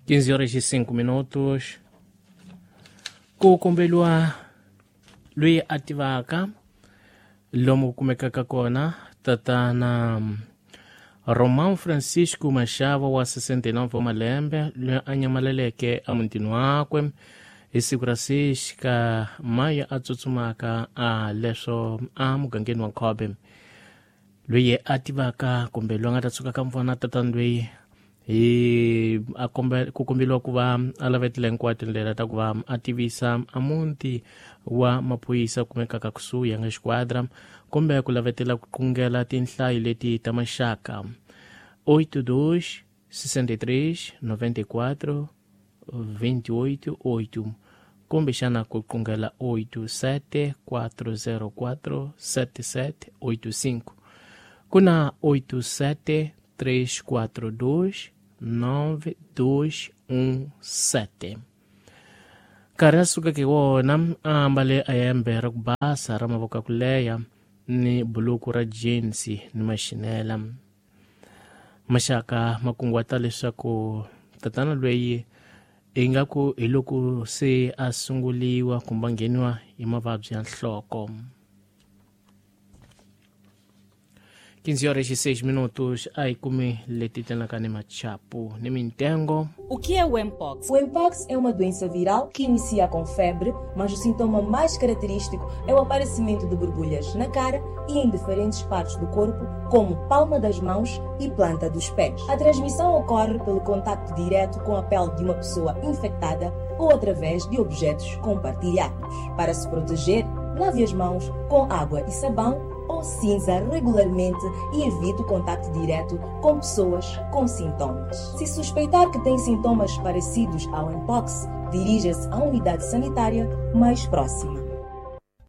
15 horas e 5 minutos. Ku kombeliwa loyi a tivaka lomu ku kumekaka kona tatana Romão Francisco Machava wa 69 wa malembe, loyi a nyamaleleke emutini wakwe hi siku ra 6 ka Mayi a tsutsumaka a leswo a mugangeni wa Nkhobe. Loyi a tivaka kumbe loyi a nga ta tshuka ka mvona tatana loyi hi a kombe ku kombeliwa ku va a lavetile hinkwato tindlela ta ku va a tivisa a muti wa maphorisa kumekaka kusuhi ya nga xiquadra, kumbe ku lavetela ku qungela tinhlayo leti ta maxaka 82 63 94 28 8, kumbexana ku qungela 87 404 77 85, ku na 87 342 9217. Nkarhi a sukeke wona a ambale a hembe ra ku basa ra mavoko ya ku leha ni buluku ra jeans ni maxinela. Maxaka ma kunguhata leswaku tatana loyi ingaku hi loko se a sunguliwa kumbe a ngheniwa hi mavabyi ya nhloko. 15 horas e 6 minutos. A hi kumi leti tlenaka ni machapu ni mintengo. O que é o Mpox? O Mpox é uma doença viral que inicia com febre, mas o sintoma mais característico é o aparecimento de borbulhas na cara e em diferentes partes do corpo, como palma das mãos e planta dos pés. A transmissão ocorre pelo contacto direto com a pele de uma pessoa infectada ou através de objetos compartilhados. Para se proteger, lave as mãos com água e sabão ou cinza regularmente e evite o contacto direto com pessoas com sintomas. Se suspeitar que tem sintomas parecidos ao Mpox, dirija-se à unidade sanitária mais próxima.